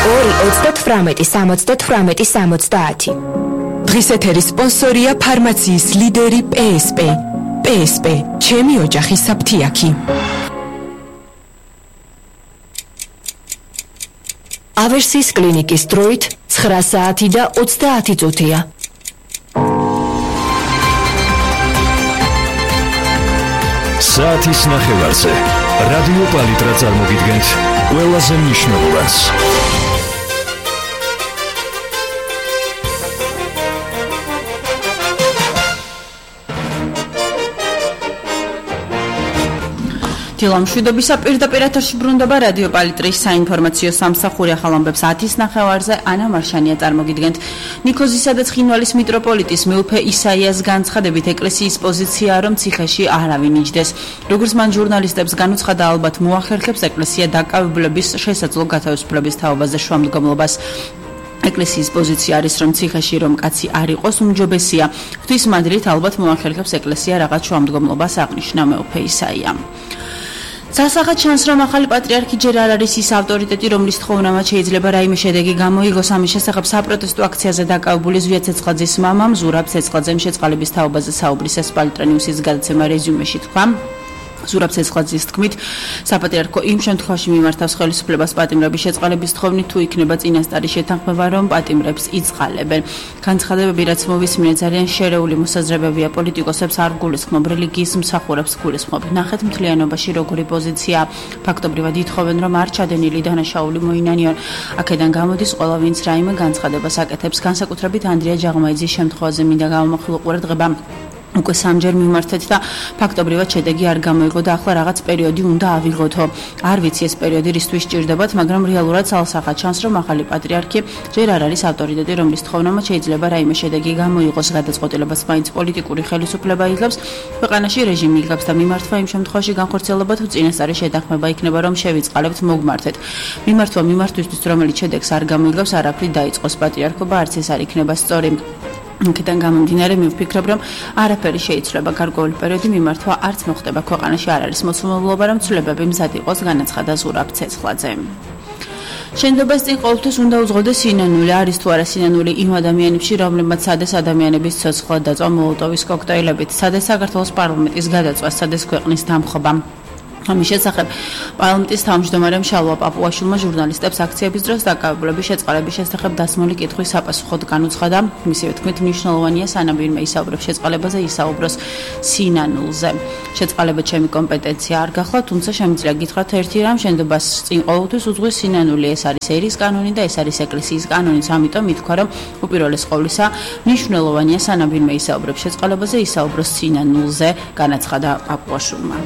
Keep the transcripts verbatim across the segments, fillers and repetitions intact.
ორი ოცდათვრამეტი სამოცდათვრამეტი სამოცდაათი. დღის ეთერის სპონსორია ფარმაციის ლიდერი პე ეს პე. პე ეს პე, ჩემი ოჯახის საფთიაქი. ავერსის კლინიკის დროით ცხრა საათი და ოცდაათი წუთია. საათის ნახევარზე რადიო პალიტრა წარმოგიდგენთ ყველაზე მნიშვნელოვანს. დილამშვიდობისა პირდაპირ ეთერში ბრუნდება რადიო პალიტრის საინფორმაციო სამსახური ახალ ამბებს ათის ნახევარზე ანა მარშანია წარმოგიდგენთ. ნიქოზისა და ცხინვალის მიტროპოლიტის მეუფე ისაიას განცხადებით ეკლესიის პოზიციაა, რომ ციხეში არავინ იჯდეს. როგორც მან ჟურნალისტებს განუცხადა, ალბათ მოახერხებს ეკლესია დაკავებლების შესაძლო გათავისუფლების თაობაზე შუამდგომლობას. ეკლესიის პოზიცია არის, რომ ციხეში რომ კაცი არ იყოს უმჯობესია. ღვთისმადლით ალბათ მოახერხებს ეკლესია რაღაც შუამდგომლობას, აღნიშნა მეუფე ისაია. სასახად ჩანს, რომ ახალი პატრიარქი ჯერ არ არის ის ავტორიტეტი, რომლის თხოვნამაც შეიძლება რაიმე შედეგი გამოიგოს. ამის შესახებ საპროტესტო აქციაზე დაკავებული ზვია ცეცხლაძის მამამ ზურაბ ცეცხლაძემ შეწყალების თაობაზე საუბრის ეს პალიტრა ნიუსის გადაცემა რეზიუმეში თქვა. ზურაბ ცეცხლაძის თქმით, საპატრიარქო იმ შემთხვევაში მიმართავს ხელისუფლებას პატიმრების შეწყალების თხოვნით, თუ იქნება წინასწარი შეთანხმება, რომ პატიმრებს იწყალებენ. განცხადებები, რაც მოვისმინეთ, ძალიან შერეული მოსაზრებებია. პოლიტიკოსებს არ გულისხმობ, რელიგიის მსახურებს გულისხმობ. ნახეთ მთლიანობაში როგორი პოზიცია. ფაქტობრივად ითხოვენ, რომ არ ჩადენილი დანაშაული მოინანიონ. აქედან გამოდის, ყველა ვინც რაიმე განცხადებას აკეთებს, განსაკუთრებით ანდრია ჯაღმაიძის შემთხვევაზე მინდა გამომახვილო ყურადღება. უკვე სამჯერ მიმართეთ და ფაქტობრივად შედეგი არ გამოიგო და ახლა რაღაც პერიოდი უნდა ავიღოთო. არ ვიცი ეს პერიოდი რისთვის სჭირდებათ, მაგრამ რეალურად ალსახად ჩანს, რომ ახალი პატრიარქი ჯერ არ არის ავტორიტეტი, რომლის თხოვნამაც შეიძლება რაიმე შედეგი გამოიღოს. გადაწყვეტილებას მაინც პოლიტიკური ხელისუფლება იღებს, ქვეყანაში რეჟიმი იღებს და მიმართვა იმ შემთხვევაში განხორციელება თუ წინასწარი შეთანხმება იქნება, რომ შევიწყალებთ, მოგმართეთ. მიმართვა მიმართვისთვის, რომელიც შედეგს არ გამოიგებს, არაფრით დაიწყოს პატრიარქობა, არც ეს არ იქნება სწორი. აქედან გამომდინარე, მე ვფიქრობ, რომ არაფერი შეიცვლება. გარკვეული პერიოდი მიმართვა არც მოხდება. ქვეყანაში არ არის მოსუმებლობა, რომ ცვლილებები მზად იყოს, განაცხადა ზურაბ ცეცხლაძე. შენდობას წინ ყოველთვის უნდა უძღოდეს სინანული. არის თუ არა სინანული იმ ადამიანებში, რომლებმაც სადეს ადამიანების ცოცხლა დაწვა მოლოტოვის კოქტეილებით. სადეს საქართველოს პარლამენტის გადაწვა, სადეს ქვეყნის დამხობა. ამის შესახებ პარლამენტის თავმჯდომარემ შალვა პაპუაშვილმა ჟურნალისტებს აქციების დროს დაკავებლების შეწყალების შესახებ დასმული კითხვის საპასუხოდ განუცხადა. მისივე თქმით, მნიშვნელოვანია სანამ ვინმე ისაუბრებს შეწყალებაზე, ისაუბროს სინანულზე. შეწყალება ჩემი კომპეტენცია არ გახლა, თუმცა შემიძლია გითხრათ ერთი რამ, შენდობას წინ ყოველთვის უძღვის სინანული. ეს არის ერის კანონი და ეს არის ეკლესიის კანონიც. ამიტომ ითქვა, რომ უპირველეს ყოვლისა მნიშვნელოვანია სანამ ვინმე ისაუბრებს შეწყალებაზე, ისაუბროს სინანულზე, განაცხადა პაპუაშვილმა.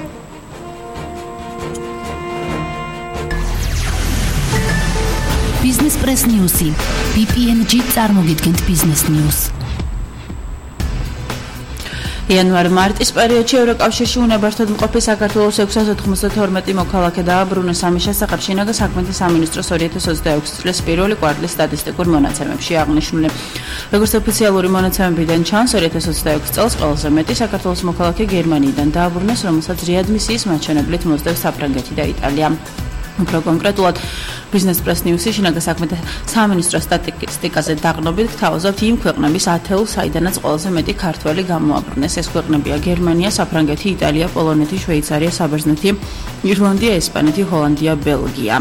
Business Press News-ი. ბი პი ენ ჯი წარმოგიდგენთ Business News. იანვარ-მარტის პერიოდში ევროკავშირში უნებართოდ მყოფი საქართველოს ექვსას ოთხმოცდათორმეტი მოქალაქე დააბრუნეს. ამის შესახებ შინაგან საქმეთა სამინისტროს ორი ათას ოცდაექვსი წლის პირველი კვარტლის სტატისტიკურ მონაცემებში აღნიშნული. როგორც ოფიციალური მონაცემებიდან ჩანს, ორი ათას ოცდაექვსი წელს ყველაზე მეტი საქართველოს მოქალაქე გერმანიიდან დააბრუნეს, რომელსაც რეადმისიის მაჩვენებლით მოსდევს საფრანგეთი და იტალია. უფრო კონკრეტულად, Business Press News-ი შინაგან საქმეთა სამინისტროს სტატისტიკაზე დაღნობით გთავაზობთ იმ ქვეყნების ათეულს, საიდანაც ყველაზე მეტი ქართველი გამოაბრუნეს. ეს ქვეყნებია გერმანია, საფრანგეთი, იტალია, პოლონეთი, შვეიცარია, საბერძნეთი, ირლანდია, ესპანეთი, ჰოლანდია, ბელგია.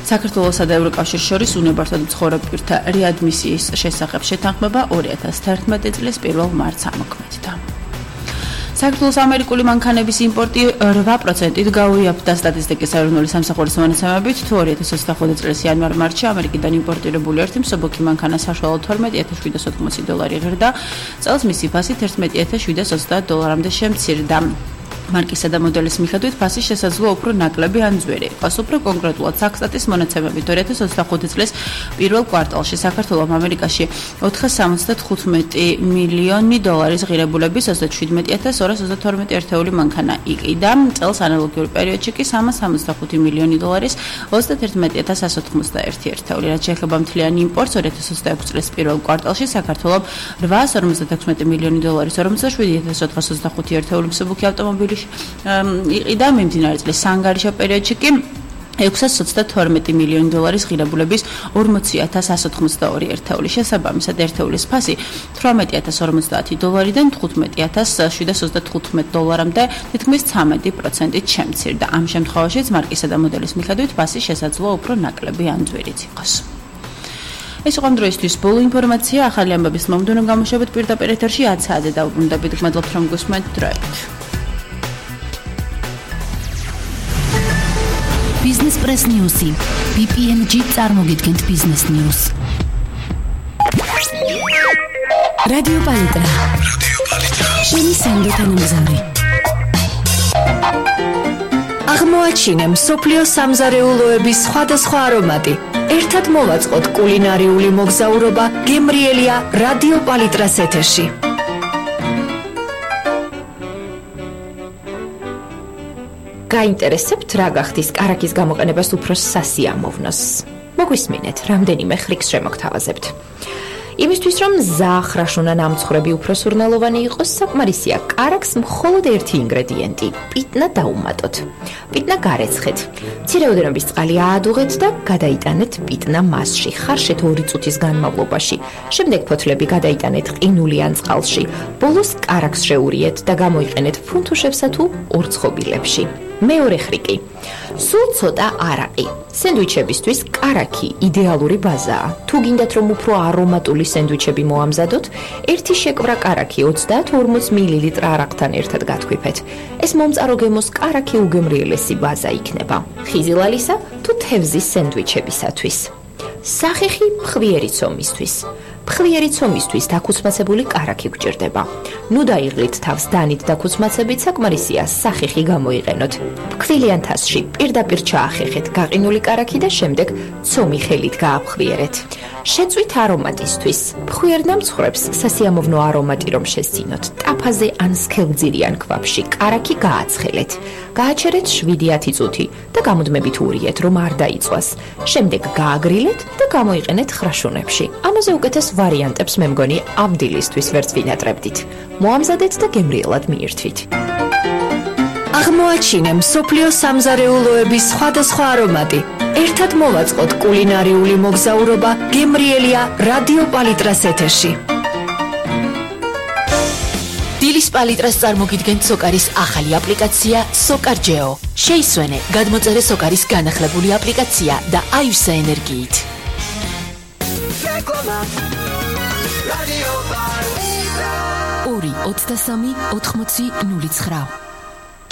საქართველოსა და ევროკავშირს შორის უნებართოდ მცხოვრებ პირთა რეადმისიის შესახებ შეთანხმება ორი ათას თერთმეტი წლის პირველ მარტს ამოქმედდა. საქართველოს ამერიკული მანქანების იმპორტი რვა პროცენტით გაუიაფთა სტატისტიკის ეროვნული სამსახურის მონაცემებით, თუ ორი ათას ოცდახუთი წლის იანვარ-მარტში ამერიკიდან იმპორტირებული ერთი მსუბუქი მანქანა საშუალოდ თორმეტი ათას შვიდას ოთხმოცი დოლარი ღირდა, წელს მისი ფასი თერთმეტი ათას შვიდას ოცდაათ დოლარამდე შემცირდა. მარკისა და მოდელის მიხედვით ფასი შესაძლოა უფრო ნაკლები ან ძვირი იყოს. უფრო კონკრეტულად საქსტატის მონაცემებით ორი ათას ოცდახუთი წლის პირველ კვარტალში საქართველოს ამერიკაში ოთხას სამოცდათხუთმეტი მილიონი დოლარის ღირებულების ოცდაშვიდმეტი ათას ორას ოცდათორმეტი ერთეული მანქანა იყიდა. წელს ანალოგიურ პერიოდში კი სამას სამოცდახუთი მილიონი დოლარის ოცდათერთმეტი ათას ასი ოცდაერთი ერთეული. რაც შეეხება მთლიან იმპორტს ორი ათას ოცდაექვსი წლის პირველ კვარტალში საქართველოს რვაას ორმოცდათექვსმეტი მილიონი დოლარის ორმოცდაშვიდი ათას ოთხას ოცდახუთი ერთეული მსუბუქი ავტომობილი იყიდა. მიმდინარე წლის სანგარიშო პერიოდში კი ექვსას ოცდათორმეტი მილიონი დოლარის ღირებულების ორმოცი ათას ასი ოცდაორი ერთეული შესაბამისად ერთეულის ფასი თვრამეტი ათას ორმოცდაათი დოლარიდან თხუთმეტი ათას შვიდას ოცდათხუთმეტ დოლარამდე თითქმის ცამეტი პროცენტით შემცირდა. ამ შემთხვევაშიც მარკისა და მოდელის მიხედვით ფასი შესაძლოა უფრო ნაკლები ან ძვირიც იყოს. ეს იყო დროისთვის ბოლო ინფორმაცია. ახალი ამბების მომდევნო გამოშვებით პირდაპირ ეთერში ათ საათზე დაუბრუნდებით. გმადლობთ რომ გусმენთ დროებით. Business Press News-ი. ბი პი ენ ჯი წარმოგიდგენთ Business News. რადიო პალიტრა. შენი სანდოთანამგზავრი. აღმოაჩინე მსოფლიო სამზარეულოების სხვადასხვა არომატი. ერთად მოვაწყოთ კულინარიული მოგზაურობა გემრიელია რადიო პალიტრას ეთერში. გაინტერესებთ რა გახდის კარაქის გამოყენებას უფრო სასიამოვნოს? მოგვისმინეთ, რამდენიმე ხრიკს შემოგთავაზებთ. იმისთვის რომ ზახრაშუნა ნამცხრები უფრო სურნელოვანი იყოს, საკმარისია კარაქს მხოლოდ ერთი ინგრედიენტი პიტნა დაუმატოთ. პიტნა გარეცხეთ. მცირე ოდენობის წყალი აადუღეთ და გადაიტანეთ პიტნა მასში ხარშეთ ორი წუთის განმავლობაში. შემდეგ ფოთლები გადაიტანეთ ყინულიან წყალში. ბოლოს კარაქს შეურიეთ და გამოიყენეთ ფუნთუშებსა თუ ორცხობილებში. მეორე ხრიკი. სულ ცოტა არაყი. სენდვიჩებისთვის კარაქი იდეალური ბაზაა. თუ გინდათ რომ უფრო არომატული სენდვიჩები მოამზადოთ, ერთი შეკვრა კარაქი ოცდაათ ორმოც მილilitre არაყთან ერთად გათქვიფეთ. ეს მომწარო გემოს კარაქი უგემრიელესი ბაზა იქნება. ხიზილალისა თუ თევზის სენდვიჩებისათვის. სახეხი ფხვიერი ცომისთვის. ფხვიერი ცომისთვის დაქუცმაცებული კარაქი გვჭირდება. ნუ დაიღლით თავს დანით დაქუცმაცებით, საკმარისია სახეხი გამოიყენოთ. ფქვილიან თასში პირდაპირ ჩაახეხეთ გაყინული კარაქი და შემდეგ ცომი ხელით გააფხვიერეთ. შეწვით არომატისთვის. ფხვიერ ნამცხრებს სასიამოვნო არომატი რომ შესძინოთ, ტაფაზე ან სქელძირიან ქვაბში კარაქი გააცხელეთ. გააჩერეთ შვიდი ათი წუთი და გამუდმებით ურიეთ, რომ არ დაიწვას. შემდეგ გააგრილეთ და გამოიყენეთ ხრაშუნებში. ამაზე უკეთეს ვარიანტებს მე მგონი ამ დილისთვის ვერც ვინატრებდით. მოამზადეთ და გემრიელად მიირთვით. აღმოაჩინე მსოფლიო სამზარეულოების სხვადასხვა არომატი. ერთად მოვაწყოთ კულინარიული მოგზაურობა გემრიელია რადიო პალიტრას ეთერში. დილის პალიტრას წარმოგიდგენთ სოკარის ახალი აპლიკაცია სოკარჯეო. შეისვენე, გადმოწერე სოკარის განახლებული აპლიკაცია და აივსე ენერგიით. ორი ოცდასამი ოთხმოცი ნული ცხრა.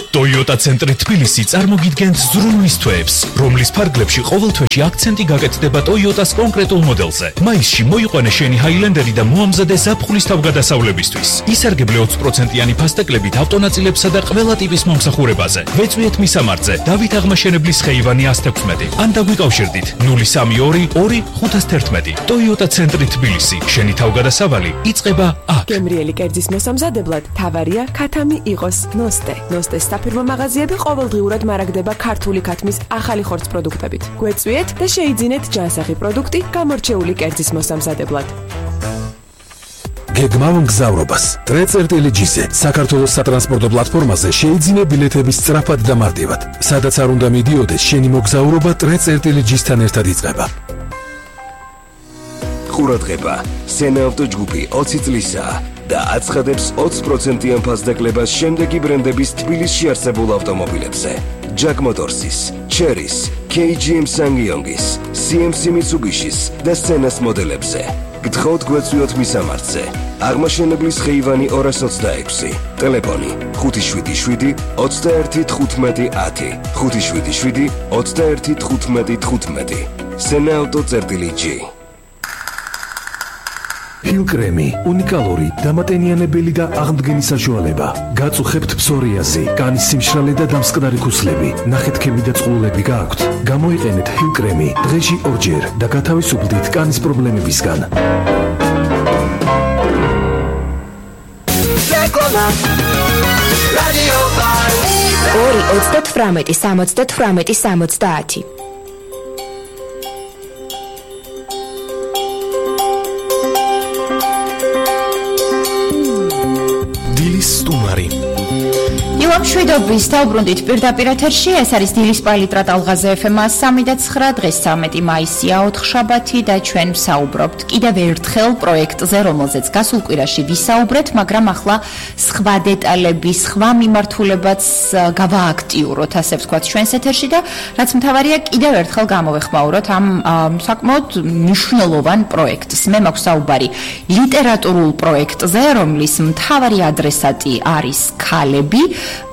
Toyota ცენტრი თბილისი წარმოგიდგენთ ზრუნვის თვეებს, რომლის ფარგლებში ყოველ თვეში აქცენტი გაკეთდება Toyota-ს კონკრეტულ მოდელზე. მაისში მოიყვანე შენი Highlander-ი და მოამზადე ზაფხულის თავგადასავლებისთვის. ისარგებლე ოცი პროცენტიანი ფასტეკლებით ავტონაწილებსა და ყველა ტიპის მომსახურებაზე. ვეწვიეთ მისამართზე დავით აღმაშენებლის ხეივანი ასი თექვსმეტი. ან დაგვიკავშირდით ნული სამი ორი ორი ხუთას თერთმეტი. Toyota ცენტრი თბილისი. შენი თავგადასავალი იწყება აქ. გემრიელი კერძის მოსამზადებლად თავარია ქათამი იყოს ნოსტე. ნოსტეს საფირმო მაღაზიები ყოველდღიურად მარაგდება ქართული ქათმის ახალი ხორცს პროდუქტებით. გვეწვიეთ და შეიძინეთ ჯანსაღი პროდუქტი გამორჩეული კერძის მოსამზადებლად. გეგმავ მგზავრობას. ტრეწერტელეჯიზე საქართველოს სატრანსპორტო პლატფორმაზე შეიძინე ბილეთების სწრაფად და მარტივად. სადაც არ უნდა მიდიოდეს, შენი მოგზაურობა ტრეწერტელეჯისთან ერთად იწყება. ყურადღება, სენაავტო ჯგუფი ოცი წლისაა და აცხადებს ოცი პროცენტიან ფასდაკლებას შემდეგი ბრენდების თბილისში არსებულ ავტომობილებზე. Jack Motors-ის, Chery-ის, კეი ჯი ემ Ssangyong-ის, სი ემ სი Mitsubishi-ის და Senna-ს მოდელებზე. გთხოვთ გვეწვიოთ მისამართზე. აღმაშენებლის ხეივანი ორას ოცდაექვსი. ტელეფონი ხუთი შვიდი შვიდი ოცდაერთი თხუთმეტი ათი. ხუთი შვიდი შვიდი ოცდაერთი თხუთმეტი თხუთმეტი. Senna-auto.gr ჰილკრემი, უნიკალური, დამატენიანებელი და აღმდგენი საშუალება. გაწუხებთ ფსორიაზი, კანის სიმშრალე და დამსკნარი ქუსლები. ნახეთქები და წყლულები გააქვთ. გამოიყენეთ ჰილკრემი დღეში ორჯერ და გათავისუფლდით კანის პრობლემებისგან. ორი ოცდათვრამეტი სამოცდათვრამეტი სამოცდაათი. მშვიდობის დაუბრუნდით პირდაპირ ეთერში. ეს არის დილის პალიტრა ტალღაზე ეფ ემ სამი და ცხრა. დღეს ცამეტი მაისია, ოთხშაბათი და ჩვენ ვსაუბრობთ კიდევ ერთხელ პროექტზე, რომელზეც გასულ კვირაში ვისაუბრეთ, მაგრამ ახლა სხვა დეტალები, სხვა მიმართულებაც გავააქტიუროთ, ასე ვთქვათ, ჩვენს ეთერში და რაც მთავარია, კიდევ ერთხელ გამოვეხმაუროთ ამ საკმაოდ მნიშვნელოვან პროექტს. მე მაქვს საუბარი ლიტერატურულ პროექტზე, რომლის მთავარი ადრესატი არის ქალები.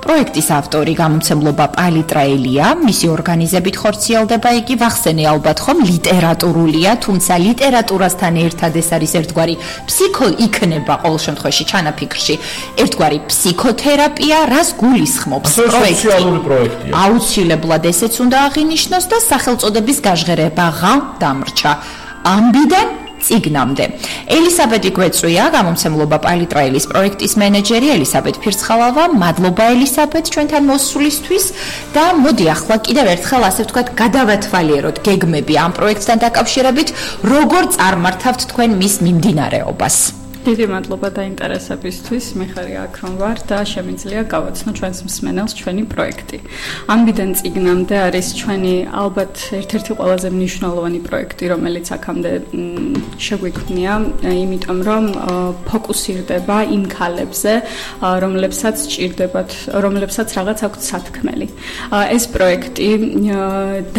პროექტის ავტორი გამომცემლობა პალიტრაელია, მისი ორგანიზებით ხორციელდება იგი, ვახსენე ალბათ ხომ, ლიტერატურულია, თუმცა ლიტერატურასთან ერთად ეს არის ერთგვარი ფსიქო იქნება ყოველ შემთხვევაში ჩანაფიქრში, ერთგვარი ფსიქოთერაპია, რას გულისხმობს პროექტი. სოციალური პროექტია. აუცილებლად ესეც უნდა აღინიშნოს და სახელწოდების გაჟღერება ღა დამრჩა. ამბიდან ციგნამდე. ელისაბედი გვეწვია, გამომცემლობა პალიტრაელის პროექტის მენეჯერი ელისაბედ ფირცხალავა. მადლობა ელისაბედ ჩვენთან მოსვლისთვის და მოდი ახლა კიდევ ერთხელ ასე ვთქვათ, გადავათვალიეროთ გეგმები ამ პროექტთან დაკავშირებით, როგორ წარმართავთ თქვენ მის მიმდინარეობას. დიდი მადლობა დაინტერესებისთვის. მე ხარ აქ რომ ვარ და შემიძლია გავაცნო ჩვენს მსმენელს ჩვენი პროექტი. ამბიდან ციგნამდე არის ჩვენი ალბათ ერთ-ერთი ყველაზე მნიშვნელოვანი პროექტი, რომელიც აქამდე შეგვიქმნია, იმიტომ რომ ფოკუსირდება იმ ქალებზე, რომლებსაც სჭირდებათ, რომლებსაც რაღაც აქვთ სათქმელი. ეს პროექტი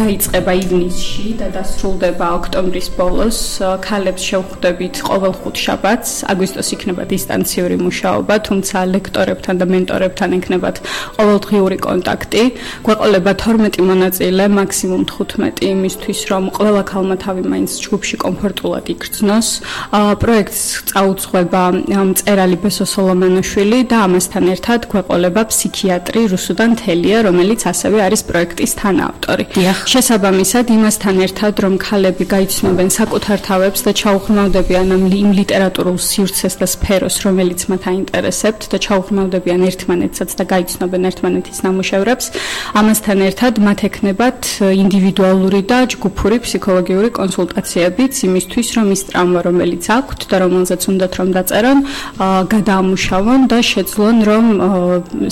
დაიწყება ივნისში და დასრულდება ოქტომბრის ბოლოს. ქალებს შევხვდებით ყოველ ხუთშაბათს. აგვისტოს იქნება დისტანციური მუშაობა, თუმცა ლექტორებთან და მენტორებთან ექნებათ ყოველდღიური კონტაქტი. გვეყოლება თორმეტი მონაწილე, მაქსიმუმ თხუთმეტი, იმისთვის რომ ყველა ქალმა თავი მაინც ჯგუფში კომფორტულად იქრძნოს. პროექტს წაუძღვება მწერალი ბესო სოლომონაშვილი და ამასთან ერთად გვეყოლება ფსიქიატრი რუსუდან თელია, რომელიც ასევე არის პროექტის თანაავტორი. შესაბამისად, იმასთან ერთად, რომ ქალები გაიცნობენ საკუთარ თავებს და ჩაუღრმავდებიან იმ ლიტერატურულ სივრცეს და სფეროს, რომელიც მათ აინტერესებთ და ჩაუღრმავდებიან ერთმანეთსაც და გაიცნობენ ერთმანეთის ნამუშევრებს. ამასთან ერთად მათ ექნებათ ინდივიდუალური და ჯგუფური ფსიქოლოგიური კონსულტაციებიც იმისთვის, რომ ის ტრავმა, რომელიც აქვთ და რომელზეც უნდათ რომ დაწერონ, გადაამუშავონ და შეძლონ, რომ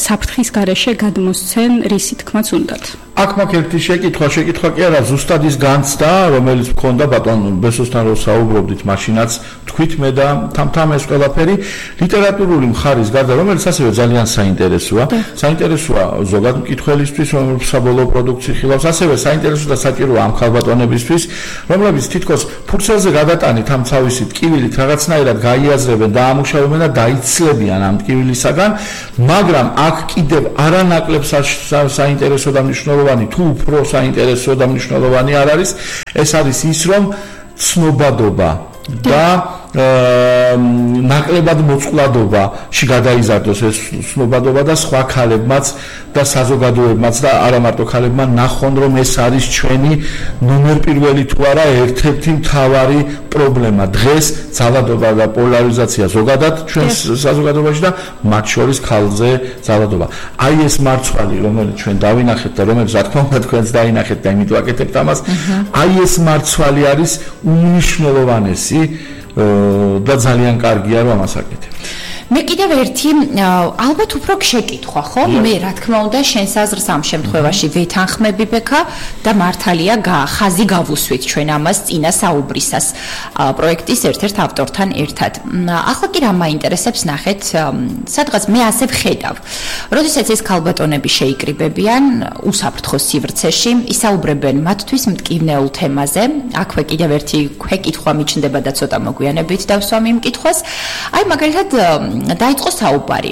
საფრთხის გარეშე გადმოსცენ რისი თქმაც უნდათ. აქ მაქვს ერთი შეკითხვა, შეკითხვა კი არა, ზუსტად ის განცდა, რომელიც მქონდა ბატონ ბესოსთან რომ საუბრობდით, მაშინაც თქვით მე და თამთამ ეს ყველაფერი ლიტერატურული მხარის გარდა, რომელიც ასევე ძალიან საინტერესოა, საინტერესოა ზოგად მკითხველისთვის, რომელიც საბოლოო პროდუქცი ხილავს, ასევე საინტერესოა და საჭიროა ამ ქალბატონებისთვის, რომლებიც თითქოს ფურცელზე გადატანით ამ თავისი ტკივილით რაღაცნაირად გაიაზრებენ, დაამუშავებენ და დაიცლებიან ამ ტკივილისაგან, მაგრამ აქ კიდევ არანაკლებ საინტერესო და მნიშვნელოვანი თუ უფრო საინტერესო და მნიშვნელოვანი არ არის, ეს არის ის, რომ ცნობადობა და ნაკლებად მოწყვლადობაში გადაიზარდოს ეს ცნობადობა და სხვა ქალებმაც და საზოგადოებმაც და არა მარტო ქალებმა ნახონ, რომ ეს არის ჩვენი ნომერ პირველი თუ არა ერთ-ერთი მთავარი პრობლემა. დღეს ძალადობა და პოლარიზაცია ზოგადად ჩვენს საზოგადოებაში და მათ შორის ქალზე ძალადობა. აი ეს მარცვალი, რომელიც ჩვენ დავინახეთ და რომელიც რა თქმა უნდა თქვენც დაინახეთ და იმიტომ აკეთებთ ამას, აი ეს მარცვალი არის უმნიშვნელოვანესი და ძალიან კარგია რომ ამას აკეთებთ. მე კიდევ ერთი ალბათ უფრო შეკითხვა, ხო? მე რა თქმა უნდა შენს აზრს ამ შემთხვევაში ვეთანხმები ბექა და მართალია ხაზი გავუსვით ჩვენ ამას წინა საუბრისას პროექტის ერთ-ერთ ავტორთან ერთად. ახლა კი რა მაინტერესებს ნახეთ, სადღაც მე ასე ვხედავ. როდესაც ეს ქალბატონები შეიკრიბებიან უსაფრთხო სივრცეში, ისაუბრებენ მათთვის მტკივნეულ თემაზე. აქვე კიდევ ერთი ქვეკითხვა მიჩნდება და ცოტა მოგვიანებით დავსვამ იმ კითხვას. აი მაგალითად დაიწყო საუბარი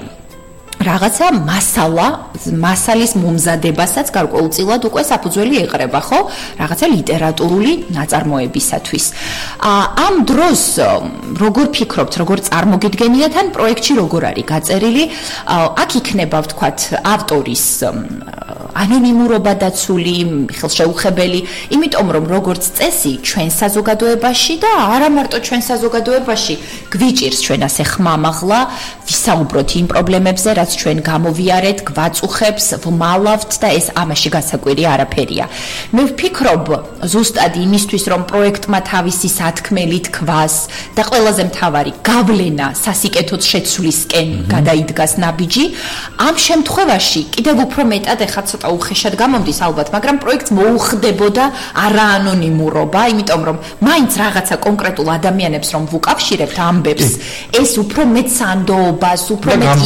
რაღაცა მასალა, მასალის მომზადებასაც გარკვეულწილად უკვე საფუძველი ეყრება, ხო? რაღაცა ლიტერატურული ნაწარმოებისათვის. ამ დროს როგორ ფიქრობთ, როგორ წარმოგიდგენიათ ან პროექტში როგორ არის გაწერილი? აქ იქნება, ვთქვათ, ავტორის ანონიმურობა დაცული, ხელშეუხებელი, იმიტომ რომ როგორც წესი ჩვენ საზოგადოებაში და არა მარტო ჩვენ საზოგადოებაში გვიჭირს ჩვენ ასე ხმამაღლა ვისაუბროთ იმ პრობლემებზე, რაც ჩვენ გამოვიარეთ, გვაწუხებს, ვმალავთ და ეს ამაში გასაკვირი არაფერია. მე ვფიქრობ, ზუსტად იმისთვის, რომ პროექტმა თავისი სათქმელი თქვას და ყველაზე მთავარი გავლენა სასიკეთოდ შეცვლისკენ გადაიდგას ნაბიჯი, ამ შემთხვევაში კიდევ უფრო მეტად ეხლა ცოტა უხეშად გამომდის ალბათ, მაგრამ პროექტს მოუხდებოდა არაანონიმურობა, იმიტომ რომ მაინც რაღაცა კონკრეტულ ადამიანებს რომ ვუკავშირებთ ამბებს, ეს უფრო მეტ სანდოობას, უფრო მეტ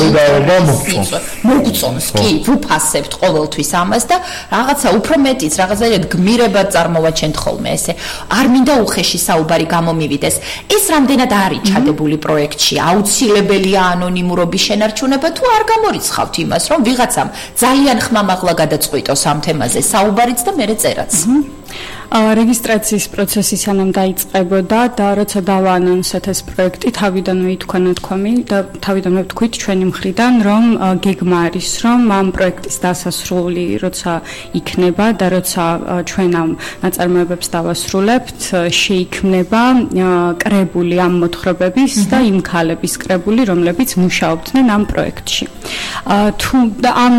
მოგწონს, კი, ვუფასებთ ყოველთვის ამას და რაღაცა უფრო მეტიც, რაღაცა გმირებად წარმოვაჩენთ ხოლმე ესე. არ მინდა უხეში საუბარი გამომივიდეს. ეს რამდენად არის ჩადებული პროექტში, აუცილებელია ანონიმურობის შენარჩუნება თუ არ გამორიცხავთ იმას, რომ ვიღაცამ ძალიან ხმამაღლა გადაწყვიტოს ამ თემაზე საუბარიც და მერე წერაც. რეგისტრაციის პროცესი სანამ დაიწყებოდა და როცა დავაანონსეთ ეს პროექტი, თავიდანვე ითქვა ნათქვამი და თავიდანვე ვთქვით ჩვენი მხრიდან, რომ გეგმა არის, რომ ამ პროექტის დასასრული როცა იქნება და როცა ჩვენ ამ ნაწარმოებებს დავასრულებთ, შეიქმნება კრებული ამ მოთხრობების და იმ ქალების კრებული, რომლებიც მუშაობდნენ ამ პროექტში. თუ ამ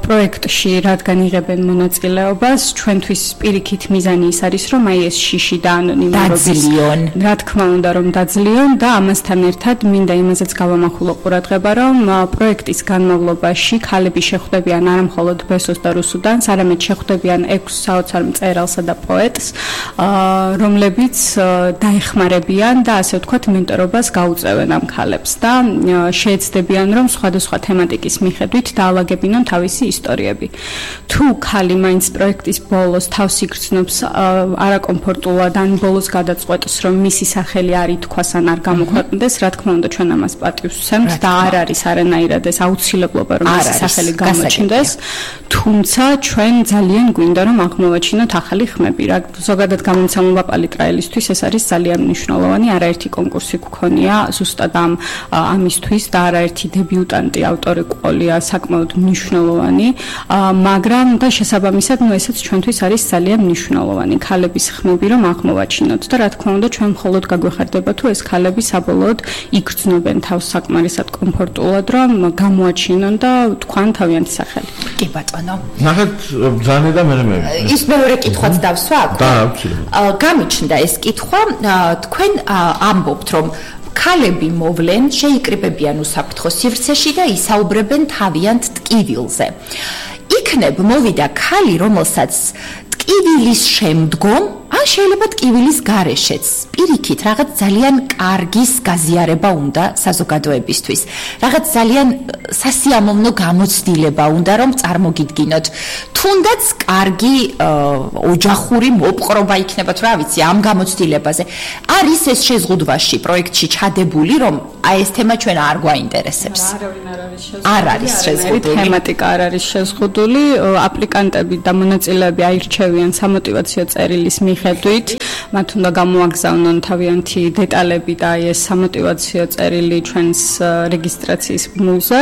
პროექტში რადგან იღებენ მონაწილეობას, ჩვენთვის პირიქით მიზანი ის არის, რომ აი ეს შიში და ანონიმურობის რა თქმა უნდა რომ დაძლიონ და ამასთან ერთად მინდა იმაზეც გავამახვილო ყურადღება, რომ პროექტის განმავლობაში ქალები შეხვდებიან არა მხოლოდ ბესოს და რუსუდანს, არამედ შეხვდებიან ექვს საოცარ მწერალსა და პოეტს, რომლებიც დაეხმარებიან და ასე ვთქვათ მენტორობას გაუწევენ ამ ქალებს და შეეცდებიან, რომ სხვადასხვა თემატიკის მიხედვით დაალაგებინონ თავისი ისტორიები. თუ ქალი მაინც პროექტის ბოლოს თავს იგრძნობს არაკომფორტულად ან ბოლოს გადაწყვეტს, რომ მისი სახელი არ ითქვას ან არ გამოქვეყნდეს, რა თქმა უნდა ჩვენ ამას პატივს ვცემთ და არ არის არანაირად ეს აუცილებლობა, რომ მისი სახელი გამოჩნდეს, თუმცა ჩვენ ძალიან გვინდა რომ აღმოვაჩინოთ ახალი ხმები. რა ზოგადად გამომცემლობა პალიტრაელისთვის ეს არის ძალიან მნიშვნელოვანი, არაერთი კონკურსი გქონია ზუსტად ამ ამისთვის და არაერთი დებიუტანტი ავტორი ყოლია საკმაოდ მნიშვნელოვანი, მაგრამ და შესაბამისად ნუ ესეც ჩვენთვის არის ძალიან მნიშვნელოვანი ქალების ხმები რომ აღმოვაჩინოთ და რა თქმა უნდა ჩვენ მხოლოდ გაგვეხარდება თუ ეს ქალები საბოლოოდ იგრძნობენ თავს საკმარისად კომფორტულად რომ გამოაჩინონ და თქვან თავიანთი სახელი. კი ბატონო. ნახეთ ბრძანე და მე მე. ის მეორე კითხვაც დავსვათ. და აუცილებლად. გამიჩნდა ეს კითხვა, თქვენ ამბობთ რომ ქალები მოვლენ, შეიკრიბებიან უსაფრთხო სივრცეში და ისაუბრებენ თავიანთ ტკივილზე. იქნებ მოვიდა ქალი, რომელსაც ტკივილის შემდგომ, ან შეიძლება ტკივილის გარეშეც, პირიქით, რაღაც ძალიან კარგის გაზიარება უნდა საზოგადოებისთვის. რაღაც ძალიან სასიამოვნო გამოცდილება უნდა, რომ წარმოგიდგინოთ. თუნდაც კარგი ოჯახური მოპყრობა იქნება, თუ რა ვიცი, ამ გამოცდილებაზე. არის ეს შეზღუდვაში პროექტში ჩადებული, რომ აი ეს თემა ჩვენ არ გვაინტერესებს. არ არის შეზღუდული. თემატიკა არ არის შეზღუდული, აპლიკანტები და მონაწილეები აირჩევიან სამოტივაციო წერილის მიხედვით, მათ უნდა გამოაგზავნონ თავიანთი დეტალები და ეს სამოტივაციო წერილი ჩვენს რეგისტრაციის ბმულზე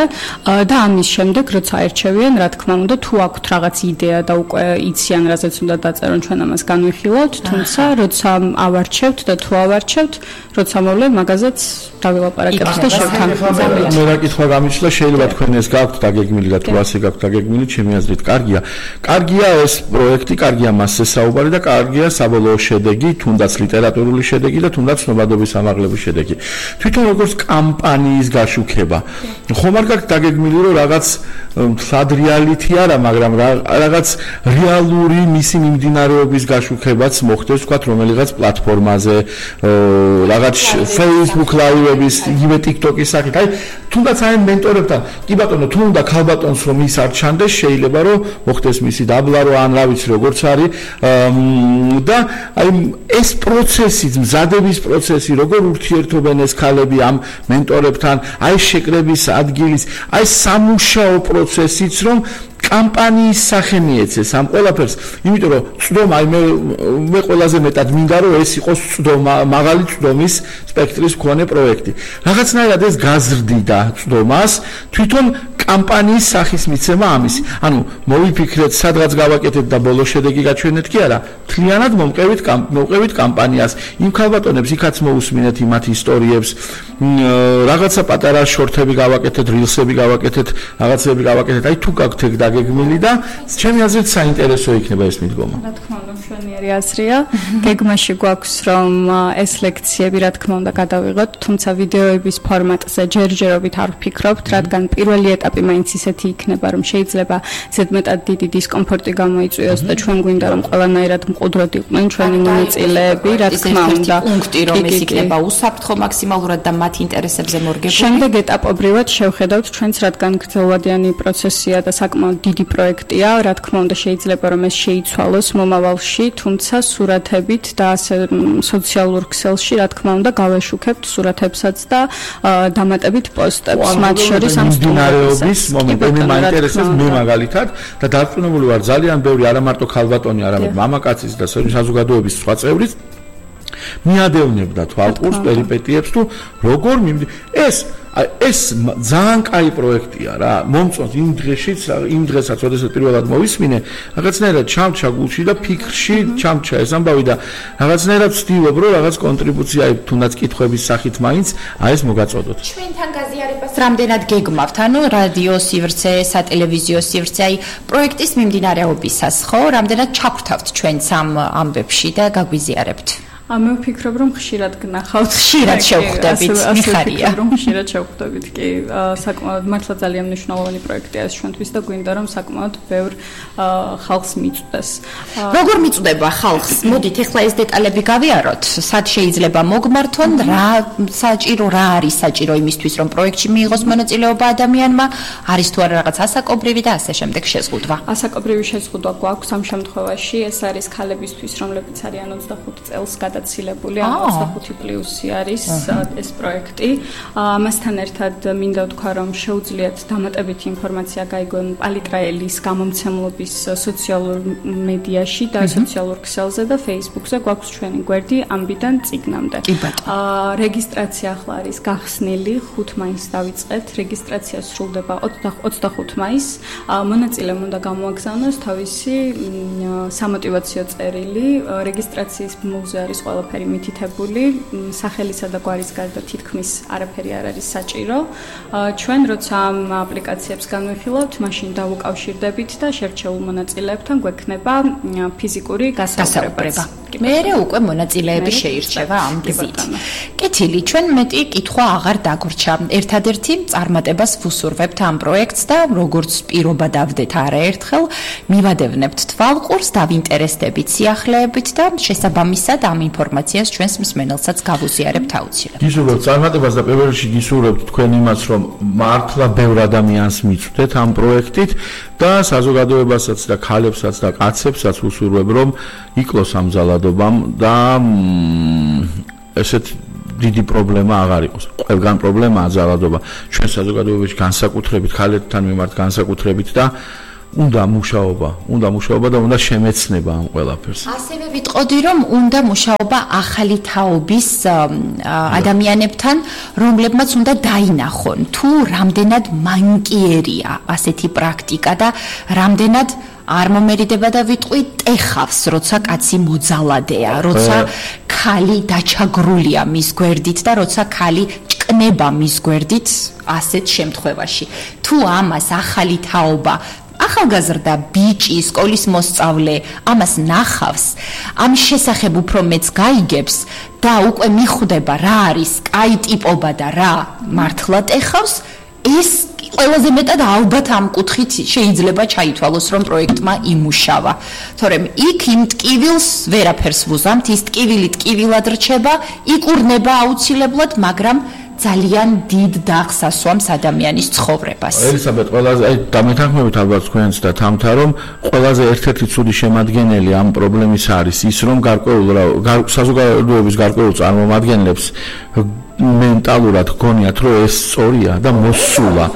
და ამის შემდეგ როცა აირჩევიან, რა თქმა უნდა, თუ აქვთ რაღაც იდეა და უკვე იციან, რასაც უნდა დაწერონ, ჩვენ ამას განვიხილავთ, თუმცა როცა ავარჩევთ და თუ ავარჩევთ, როცა მოვლენ, მაგაზეც დავილაპარაკებთ და შევთანხმდებით. მე რა კითხვა გამიჩნდა, შეიძლება თქვენ ეს გაქვთ დაგეგმილი და თუ ასე გაქვთ დაგეგმილი, ჩემი აზრით კარგია. კარგია ეს პროექტი, კარგია მასზე საუბარი და კარგია საბოლოო შედეგი, თუნდაც ლიტერატურული შედეგი და თუნდაც ცნობადობის ამაღლების შედეგი. თვითონ როგორც კამპანიის გაშუქება. ხომ არ გაქვთ დაგეგმილი, რომ რაღაც სადრიალითი არა, მაგრამ რაღაც რეალური მისი მიმდინარეობის გაშუქებაც მოხდეს, ვთქვათ, რომელიღაც პლატფორმაზე, რაღაც Facebook Live-ების, იგივე TikTok-ის სახით. აი, თუნდაც აი მენტორებთან, კი ბატონო, თუ უნდა ქალბატონს რომ ის არ ჩანდეს, შეიძლება რომ მოხდეს მისი დაბლა, ან რა ვიცი, როგორც არის და აი ეს პროცესი, მზადების პროცესი, როგორ ურთიერთობენ ეს ქალები ამ მენტორებთან, აი შეკრების ადგილის, აი სამუშაო პროცესიც რომ კამპანიის სახე მიეცეს ამ ყველაფერს, იმიტომ რომ წვდომა, აი მე მე ყველაზე მეტად მინდა რომ ეს იყოს წვდომა, მაღალი წვდომის სპექტრის მქონე პროექტი. რაღაცნაირად ეს გაზრდიდა წვდომას, თვითონ კამპანიის სახის მიცემა ამისი. ანუ მოვიფიქრეთ, სადღაც გავაკეთეთ და ბოლო შედეგი გაჩვენეთ კი არა, მთლიანად მომყევით მომყევით კამპანიას. იმ ქალბატონებს იქაც მოусმინეთ იმათ ისტორიებს, რაღაცა პატარა შორტები გავაკეთეთ, rilsები გავაკეთეთ, რაღაცები გავაკეთეთ. აი თუ გაქვთ ეგ დაგეგმილი და ჩემი აზრით საინტერესო იქნება ეს მიდგომა. რა თქმა უნდა, მშვენიერი აზრია. გეგმაში გვაქვს რომ ეს ლექციები რა თქმა უნდა გადავიღოთ, თუმცა ვიდეოების ფორმატზე ჯერჯერობით არ ვფიქრობთ, რადგან პირველი ეტაპი მაინც ისეთი იქნება, რომ შეიძლება ზედმეტად დიდი დისკომფორტი გამოიწვიოს და ჩვენ გვინდა რომ ყველანაირად მყუდროდ იყვნენ ჩვენი მონაწილეები, რა თქმა უნდა. პუნქტი რომ ეს იქნება უსაფრთხო მაქსიმალურად და მათ ინტერესებზე მორგებული. შემდეგ ეტაპობრივად შევხედავთ ჩვენს, რადგან გრძელვადიანი პროცესია და საკმაოდ დიდი პროექტია, რა თქმა უნდა შეიძლება რომ ეს შეიცვალოს მომავალში, თუმცა სურათებით და ასე სოციალურ ქსელში რა თქმა უნდა გავეშუქებთ სურათებსაც და დამატებით პოსტებს, მათ შორის ამ სტუმრების მომენტები მაინტერესებს მე მაგალითად და დარწმუნებული ვარ ძალიან ბევრი არა მარტო ქალბატონი, არამედ მამაკაცის და საზოგადოების სხვა წევრიც მიადევნებდა თვალყურს პერიპეტიებს თუ როგორ მიმდი ეს ეს ძალიან კაი პროექტია რა მომწონს იმ დღეშიც იმ დღესაც როდესაც პირველად მოვისმინე რაღაცნაირად ჩამჩა გულში და ფიქრში ჩამჩა ეს ამბავი და რაღაცნაირად ვცდილობ რომ რაღაც კონტრიბუცია თუნდაც კითხვების სახით მაინც აი ეს მოგაწოდოთ ჩვენთან გაზიარებას რამდენად გეგმავთ ანუ რადიო სივრცე სატელევიზიო სივრცე აი პროექტის მიმდინარეობისას ხო რამდენად ჩაგვთავთ ჩვენს ამ ამბებში და გაგვიზიარებთ მე ვფიქრობ რომ ხშირად გნახავთ ხშირად შევხვდებით მიხარია რომ ხშირად შევხვდებით კი საკმაოდ მართლა ძალიან მნიშვნელოვანი პროექტია ეს ჩვენთვის და გვინდა რომ საკმაოდ ბევრ ხალხს მიწვდეს როგორ მიწვდება ხალხს მოდით ეხლა ეს დეტალები გავიაროთ სად შეიძლება მოგმართონ რა საჭირო რა არის საჭირო იმისთვის რომ პროექტში მიიღოს მონაწილეობა ადამიანმა არის თუ არა რაღაც ასაკობრივი და ასე შემდეგ შეზღუდვა ასაკობრივი შეზღუდვა გვაქვს ამ შემთხვევაში ეს არის ქალებისთვის რომლებიც არიან ოცდახუთი წელს გადაცილებული ან ოცდახუთი პლუსი არის ეს პროექტი. ამასთან ერთად მინდა ვთქვა რომ შეუძლიათ დამატებითი ინფორმაცია გაიგონ პალიტრაელის გამომცემლობის სოციალურ მედიაში და სოციალურ ქსელზე და Facebook-ზე გვაქვს ჩვენი გვერდი ამბიდან წიგნამდე. რეგისტრაცია ახლა არის გახსნილი ხუთ მაისს დავიწყეთ. რეგისტრაცია სრულდება ოცდახუთი მაისს. მონაწილემ უნდა გამოაგზავნოს თავისი სამოტივაციო წერილი. რეგისტრაციის მუზე არის ყველაფერი მითითებული, სახელისა და გვარის გარდა თითქმის არაფერი არ არის საჭირო. ჩვენ როცა ამ აპლიკაციებს განვიხილავთ, მაშინ დავუკავშირდებით და შერჩეულ მონაწილეებთან გვექნება ფიზიკური გასაუბრება. მერე უკვე მონაწილეები შეირჩევა ამ გზით. კეთილი, ჩვენ მეტი კითხვა აღარ დაგვრჩა. ერთადერთი წარმატებას ვუსურვებთ ამ პროექტს და როგორც პირობა დავდეთ არაერთხელ, მივადევნებთ თვალყურს, დავინტერესდებით სიახლეებით და შესაბამისად ამ ინფორმაციას ჩვენს მსმენელსაც გავუზიარებთ აუცილებლად. გისურვებთ წარმატებას და პირველ რიგში გისურვებთ თქვენ იმას, რომ მართლა ბევრ ადამიანს მიწვდეთ ამ პროექტით და საზოგადოებასაც და ქალებსაც და კაცებსაც ვუსურვებ, რომ იკლოს ამ ძალადობამ და ესეთ დიდი პრობლემა აღარ იყოს. ყველგან პრობლემაა ძალადობა. ჩვენ საზოგადოებაში განსაკუთრებით ქალებთან მიმართ განსაკუთრებით და უნდა მუშაობა, უნდა მუშაობა და უნდა შემეცნება ამ ყველაფერს. ასევე ვიტყოდი, რომ უნდა მუშაობა ახალი თაობის ადამიანებთან, რომლებმაც უნდა დაინახონ, თუ რამდენად მანკიერია ასეთი პრაქტიკა და რამდენად არ მომერიდება და ვიტყვი ტეხავს, როცა კაცი მოძალადეა, როცა ქალი დაჩაგრულია მის გვერდით და როცა ქალი ჭკნება მის გვერდით ასეთ შემთხვევაში. თუ ამას ახალი თაობა ახალგაზრდა ბიჭი, სკოლის მოსწავლე ამას ნახავს, ამ შესახებ უფრო მეც გაიგებს და უკვე მიხვდება რა არის კაი ტიპობა და რა მართლა ტეხავს, ეს ყველაზე მეტად ალბათ ამ კუთხით შეიძლება ჩაითვალოს, რომ პროექტმა იმუშავა. თორემ იქ იმ ტკივილს ვერაფერს ვუზამთ, ის ტკივილი ტკივილად რჩება, იკურნება აუცილებლად, მაგრამ ძალიან დიდ დახს ასვამს ადამიანის ცხოვრებას. ელისაბედ, ყველაზე აი დამეთანხმებით ალბათ თქვენს და თამთა რომ ყველაზე ერთ-ერთი ცუდი შემადგენელი ამ პრობლემის არის ის, რომ გარკვეულ საზოგადოების გარკვეულ წარმომადგენლებს მენტალურად გქონიათ რომ ეს სწორია და მოსულა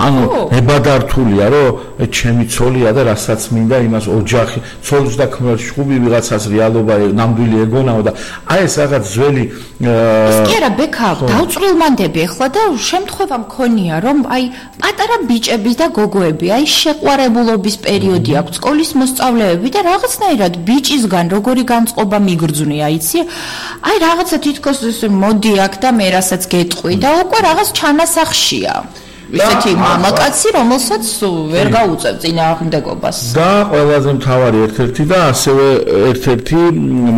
ანუ ებადართულია რომ ჩემი ცოლია და რასაც მინდა იმას ოჯახი ცოლის და ქმრის შუბი ვიღაცას რეალობა ნამდვილი ეგონაო და აი ეს რაღაც ძველი ის კი არა ბექა დავწვრილმანდები ახლა და შემთხვევა მქონია რომ აი პატარა ბიჭების და გოგოები აი შეყვარებულობის პერიოდი აქვს სკოლის მოსწავლეები და რაღაცნაირად ბიჭისგან როგორი განწყობა მიგრძვნია იცი აი რაღაცა თითქოს მოდი აქ და მე რასაც გეტყვი და უკვე რაღაც ჩანასახშია ისეთი მამაკაცი რომელსაც ვერ გაუწევ წინააღმდეგობას და ყველაზე მთავარი ერთ-ერთი და ასევე ერთ-ერთი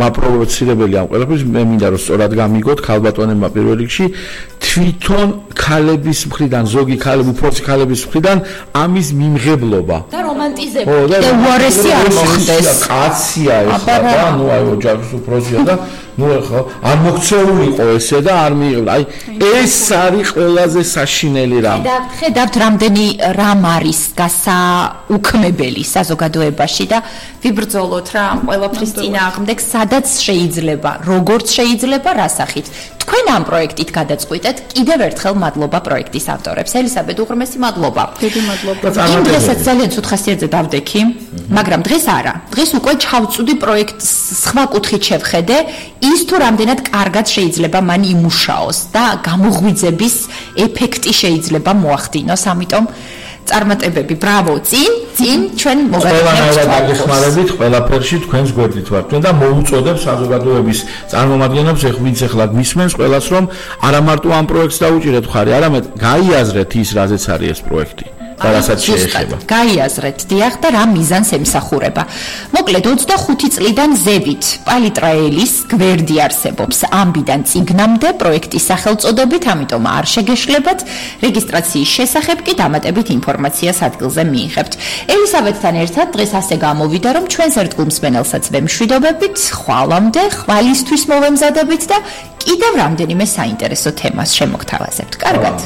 მაპროვოცირებელი ამ ყველაფრის მე მინდა რომ სწორად გამიგოთ ქალბატონებმა პირველ რიგში თვითონ ქალების მხრიდან ზოგი ქალები უფროსი ქალების მხრიდან ამის მიმღებლობა და რომანტიზება და უარესი არ მოხდეს კაცია ეს და ნუ აი ოჯახის უფროსია და ნუ ახლა არ მოქცეულიყო ესე და არ მიიღო აი ეს არის ყველაზე საშინელი რამ და ხედავთ რამდენი რამ არის გასაუქმებელი საზოგადოებაში და ვიბრძოლოთ რა ამ ყველაფრის წინააღმდეგ სადაც შეიძლება როგორც შეიძლება რა სახით თქვენ ამ პროექტით გადაწყვიტეთ კიდევ ერთხელ მადლობა პროექტის ავტორებს ელისაბედ უღრმესი მადლობა დიდი მადლობა იმ დღესაც ძალიან ცუდ ხასიათზე დავდექი მაგრამ დღეს არა დღეს უკვე ჩავწუდი პროექტს სხვა კუთხით შევხედე ის თუ რამდენად კარგად შეიძლება მან იმუშაოს და გამოღვიძების ეფექტი შეიძლება მოახდინოს ამიტომ წარმატებები ბრავო წინ წინ ჩვენ მოგაგებთ დაგეხმარებით ყველაფერში თქვენს გვერდით ვართ ჩვენ და მოუწოდებ საზოგადოების წარმომადგენლებს ეხ ვინც ახლა გვისმენს ყველას რომ არა მარტო ამ პროექტს დაუჭირეთ ხარი არამედ გაიაზრეთ ის რაზეც არის ეს პროექტი და რასაც შეეხება. გაიაზრეთ დიახ და რა მიზანს ემსახურება. მოკლედ ოცდახუთი წლიდან ზევით პალიტრაელის გვერდი არსებობს ამბიდან წიგნამდე პროექტის სახელწოდებით, ამიტომ არ შეგეშლებათ. რეგისტრაციის შესახებ კი დამატებით ინფორმაციას ადგილზე მიიღებთ. ელისაბედთან ერთად დღეს ასე გამოვიდა, რომ ჩვენს ერთგულ მსმენელსაც ვემშვიდობებით, ხვალამდე, ხვალისთვის მოვემზადებით და კიდევ რამდენიმე საინტერესო თემას შემოგთავაზებთ. კარგად.